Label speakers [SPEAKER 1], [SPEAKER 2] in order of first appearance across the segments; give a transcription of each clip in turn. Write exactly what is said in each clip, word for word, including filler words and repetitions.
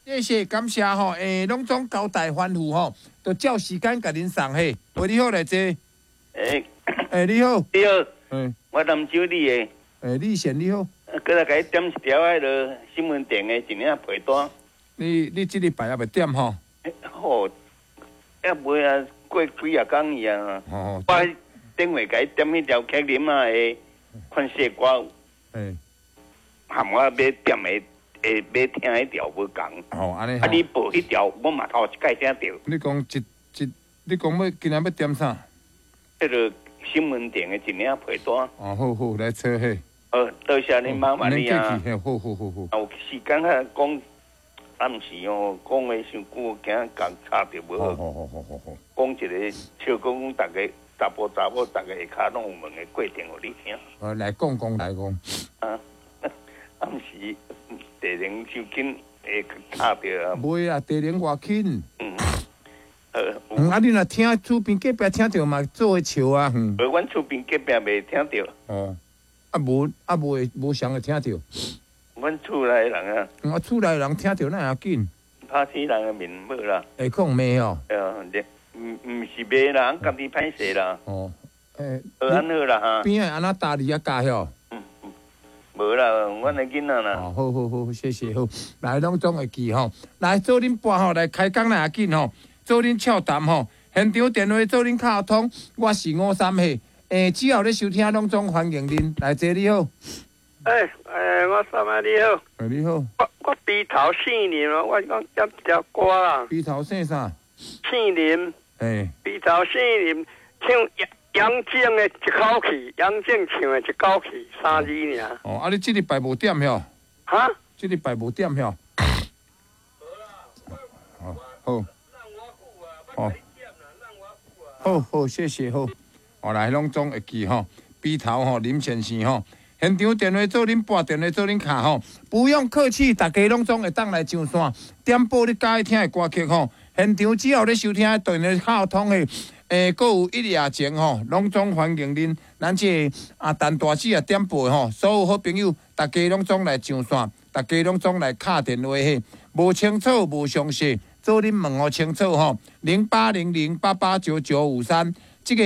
[SPEAKER 1] 謝謝感謝吼，欸，攏總交代吩咐吼，就照時間共恁送嘿。喂，你好，來坐。
[SPEAKER 2] 欸，
[SPEAKER 1] 欸，你好。
[SPEAKER 2] 你好。
[SPEAKER 1] 欸，
[SPEAKER 2] 我南州里的。
[SPEAKER 1] 欸，李賢你好。
[SPEAKER 2] 過來共你點一條彼个新聞店的一領被單。
[SPEAKER 1] 你你這禮拜猶未點吼？
[SPEAKER 2] 好，猶未啊，過幾仔工去啊。
[SPEAKER 1] 哦。
[SPEAKER 2] 我頂回共你點彼條克林仔的款式歌。
[SPEAKER 1] 欸。
[SPEAKER 2] 含我欲點的。會欲聽彼條無仝。
[SPEAKER 1] 哦，按呢。
[SPEAKER 2] 啊，你報彼條，我嘛頭一擺聽著。
[SPEAKER 1] 你講一一，你講欲今仔欲點啥？
[SPEAKER 2] 彼个新聞店的一領被單。
[SPEAKER 1] 哦，好好，來坐嘿。
[SPEAKER 2] 好，多謝你麻煩你啊。
[SPEAKER 1] 好好好好。
[SPEAKER 2] 啊，有時間啊，講暗時哦，講的傷久，驚共插著無好。
[SPEAKER 1] 好好好好好。
[SPEAKER 2] 講一个笑講，逐个查埔查某，逐个下跤攏有問的過程，予你聽。
[SPEAKER 1] 呃，來講講來講。
[SPEAKER 2] 啊，暗時。地能傷緊會卡著啊！
[SPEAKER 1] 袂啊，地能偌緊。
[SPEAKER 2] 嗯，好。
[SPEAKER 1] 嗯，啊，你若聽厝邊隔壁聽著嘛，做伙笑啊。
[SPEAKER 2] 無，阮厝邊隔壁袂聽著。
[SPEAKER 1] 哦，啊無啊無會無啥會聽著。
[SPEAKER 2] 阮厝內人啊。
[SPEAKER 1] 啊，厝內人聽著哪會遐緊？
[SPEAKER 2] 拍死人的面無啦。
[SPEAKER 1] 會講罵哦。
[SPEAKER 2] 呃，毋毋是罵啦，家己歹勢啦。
[SPEAKER 1] 哦，欸，
[SPEAKER 2] 好按好啦哈。
[SPEAKER 1] 邊仔按怎搭你啊教曉？
[SPEAKER 2] 無啦，阮的囡仔啦。
[SPEAKER 1] 哦，好好好，謝謝好。來，攏總會記吼。來，做恁播吼，來開講來較緊吼。做恁俏談吼，現場電話做恁敲通。我是吳三歲。欸，只要咧收聽，攏總歡迎恁。來，坐你好。
[SPEAKER 3] 欸欸，我三仔你好。
[SPEAKER 1] 欸，你好。
[SPEAKER 3] 我我鼻頭姓林哦，我講點一條歌啦。
[SPEAKER 1] 鼻頭姓啥？
[SPEAKER 3] 姓林。
[SPEAKER 1] 欸。
[SPEAKER 3] 鼻頭姓林，唱楊楊靜的一口氣，楊靜唱的一口氣，三字爾。
[SPEAKER 1] 哦，啊，你這禮拜無點喲？
[SPEAKER 3] 哈？
[SPEAKER 1] 這禮拜無點喲？好，好。好。好好，謝謝好。哦，來，攏總會記吼，鼻頭吼，林先生吼，現場電話做恁撥，電話做恁敲吼，不用客氣，大家攏總會當來上線，點播你佮意聽的歌曲吼。現場只要咧收聽，電話敲通的。欸，閣有一夜情吼，攏總歡迎恁。咱這個啊，陳大姊啊點播吼，所有好朋友，大家攏總來上線，大家攏總來敲電話嘿。無清楚，無詳細，做恁問予清楚吼。零八零零八八九九五三，這個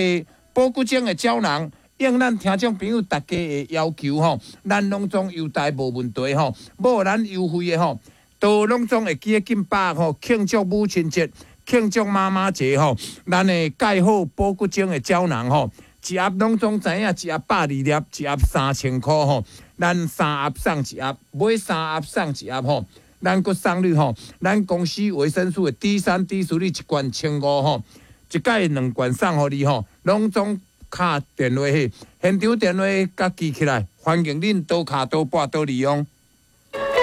[SPEAKER 1] 保骨精的膠囊，應咱聽眾朋友大家的要求吼，咱攏總優待無問題吼，無咱優惠的吼，都攏總會記得緊把吼，慶祝母親節。慶祝媽媽節吼，咱會蓋好保骨精的膠囊吼，一盒攏總知影，一盒百二粒，一盒三千箍吼，咱三盒送一盒，買三盒送一盒吼，咱閣送你吼，咱公司維生素的 D 三、D 四，你一罐千五吼，一擺兩罐送予你吼，攏總敲電話去，現場電話佮記起來，歡迎恁多敲多撥多利用。